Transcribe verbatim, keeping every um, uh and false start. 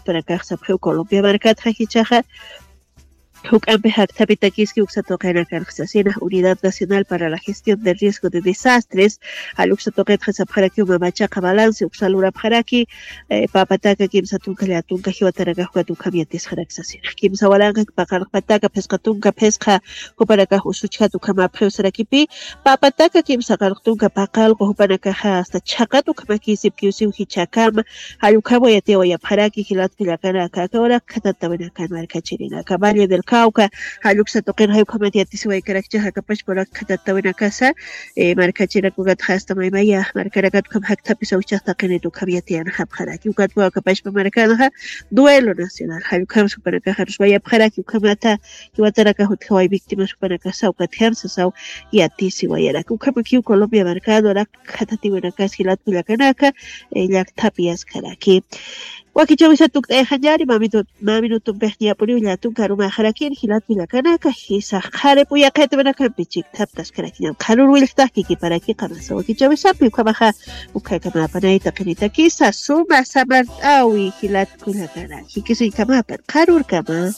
Panakax sapxiw Colombia markatxa jichaxa juk'ampi jaktapitakiski uksatuqinakanxa sasina Unidad Nacional para la Gestión del Riesgo de Desastres. Jall uksatuqitxa sapxarakiw mamachaqa balance uksa lurapxaraki. Papataka kimsa tunka llatunka jiwatarakaxukat ukham yatisxarak sasina kimsa walanqa paqarqpataka phisqa tunka phisqa jupanakax usuchjat ukhamapxiw sarakipi. Papataka kimsa qarqtunka paqalqu jupanakaxa asta chhaqat ukhamakisipkiwsiw jichhakama. Jall ukham wayatiyawayapxaraki jilat kullakanaka aka urak khatatawinakan markachirinaka Valle del Cauca. Jall uksa tuqirxay ukhamat yatisiwaykarakchaxa akapachpa urak khatatawinakasa markachirakukatxa asta maymaya markarakat ukham jakthapisa uchaq taqinit ukham yatiyanxapxaraki ukatwa akapachpa markanxa. Duelo nacional jall ukham supanakaxa ruswayapxaraki ukhamata jiwatarakax utjaway víctimas jupanakasa ukatjam sasaw yatisiwayaraki ukhamakiw Colombia markado arak khatatiwinakas jilat kullakanaka. Llakthapi yaskaraki wakichawisa tukt'ayxañari maminutumpix ñap'uriw llatun karumaxarakin jilat kullakanaka. Jisax qharip uyaqitwinakampi chikthaptaskarakiñam qharur willqtax kikiparaki qamasa wakichawisapi ukhamaxa. Ukhakamapanay taqinitakisa suma samart'awi jilat kullakanak jikisiñkamapan qharurkama.